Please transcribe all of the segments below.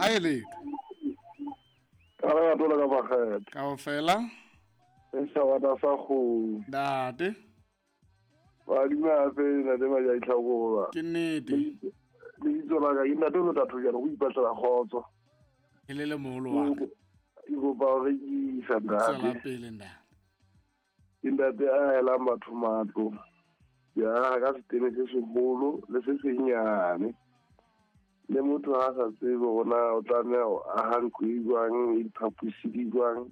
Ha e letho. Ka re atola ka bakgetha. Kaofela. E sa wata sa kgomo. Ntate. Ba duma hape ntate ba ja itlhakola. Ke nnete. Lebitso la ka ke ntate o tla thojana go ipatlela kgotso. E le le moholo wa ka. Ke kopa ho rekisa Tswela ntate. pele ntate. Ke ntate a elang batho matlo. Ke aha ka setene se seholo le se senyane. Le motho ha a sa tsebe hore na o tlameha ho aha ntlo e jwang, e diphaposi di jwang.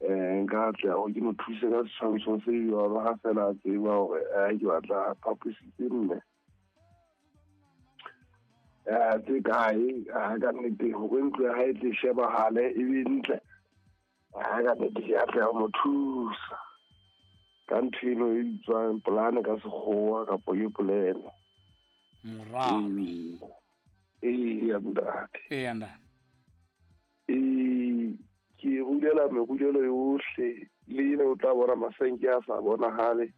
Nka atleha hore ke mo thuse ka setshwantsho se jwalo ha feela a tseba hore ke batla phaposi tse nne. Tse kae, ka nnete hore ntlo ya hae e tle shebahale e be ntle. Ka nnete ke atleha ho mo thusa ka ntho eno e bitswang polane ka sekgowa kapa ke polelo. Moralo. Eya ntate. Eya ntate. Ke rulela merulelo yohle le ena o tla bona masenke a sa bonahale.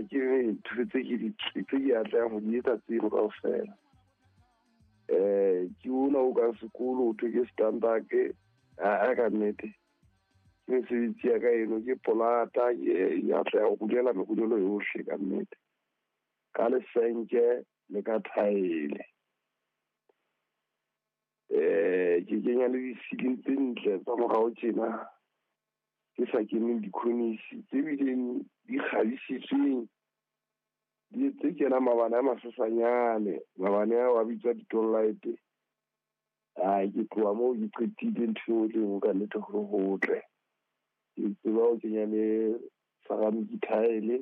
Ke ntho tse ke di tse ke atlehang ho di etsa tseno kaofela. Ke ona o ka sekolo ho thwe ke standard, ka nnete. Ke mesebetsi ya ka eno ke polata, ke atleha ho rulela merulelo yohle ka nnete. Ka lesenke le ka thaele. Ke kenya le di-ceiling tse ntle tsa morao tjena, ke sa keneng dikhonisi tse bileng di kgabisitsweng, di tse kenang mabane a masesanyane, mabane ao a bitswa di-light. Ke tloha moo ke qetile ntho eo le nngwe ka nnete ho hotle. Ke tseba ho kenya le ceramic tile.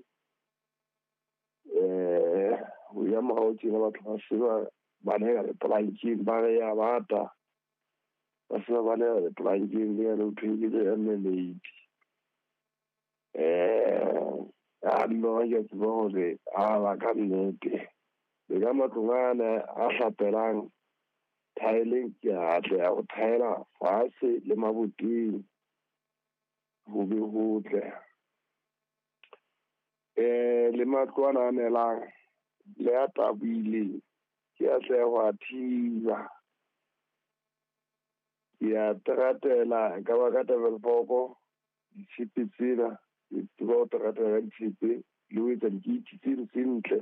Ho ya morao tjena batho ba se ba baleha lepolankeng, ba re ya bata. Ba se ba baleha lepolankeng le yane ho thweng ke le lady. A nna ke a tseba hore a ba ka nnete. Le ka matlong ana a hlapelang thaeleng ke atleha ho thaela fatshe le maboteng ho be hotle. Le matlo ana a nelang le a tabohileng ke atleha ho a thiba. Ke a teratela ka ba ka Tafelkop ditshepe tsena, ke tseba ho teratela ka ditshepe le ho etsa dikeiti tseno tse ntle.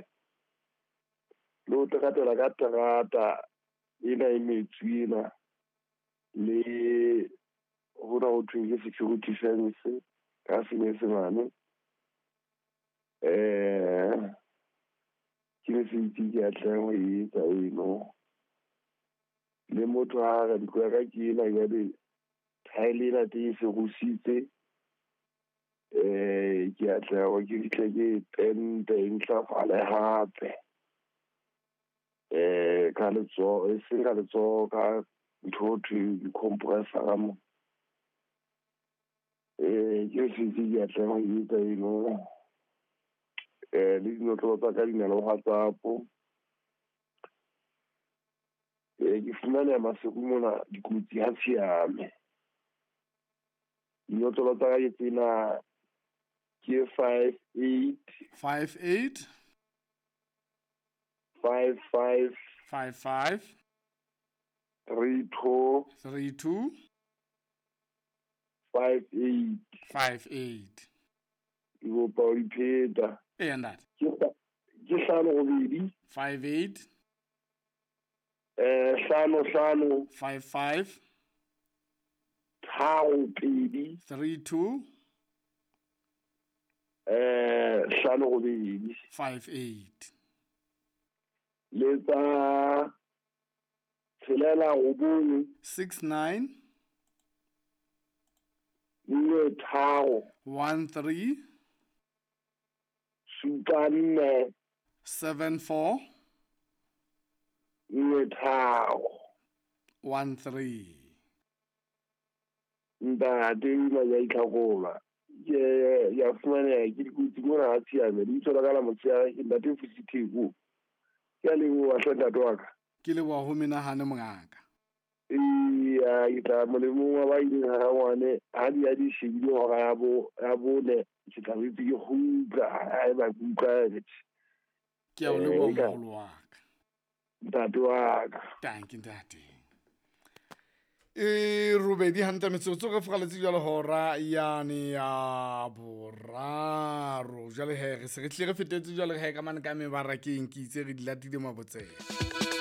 Le ho teratela ka terata ena e metsu ena le hona ho thweng ke security fence ka senyesemane. Ke mesebetsi ke atlehang ho e etsa eno. Le motho ha re ntlo ya ka ke ena jwale thaele ena teng e se rusitse. Ke atleha hore ke fihle ke pente e ntlafale hape. Ka letsoho, e seng ka letsoho, ka ntho ho thweng di-compressor mo. Ke mesebetsi ke atlehang ho e etsa eno. Le dinotlolo tsa ka di na le WhatsApp. Ke fumaneha Maseru mona dikotsi ha tshiame. Dinotlolo tsa ka ke tsena ke 58 58 55 55 32 32 58. 58. Ke kopa ho ipheta. Eya ntate. Ke hlano robedi. 58 Hlano hlano. 55 Tharo pedi. 32 Hlano robedi. 58. Le tsa tshelela robong. 69 Nne tharo. 13 Supa nne. 74 Nne tharo. 13. Ntate ena ya itlhakola. Ke ya fumaneha ke dikotsi mona ha tshiame. Lebitso la ka la motshehare ke ntate Fusi Theko. Ke a leboha hle ntate wa ka. Ke leboha ho menahane mongaka. Eya, ke tla molemong wa ba ileng ha rangwane, ha di ya di shebile hora ya bo, ya bone, ke tla boetse ke kgutla, haeba ke utlwa Ke a o leboha moholo wa ka. Ntate wa ka. Tanki ntate. E robedi hantle metsotso re furaletse jwale hora yane ya boraro. Jwale he re se re tlile re fetetse jwale he ka mane ka mebarakeng, ke itse re di latile mabotsela.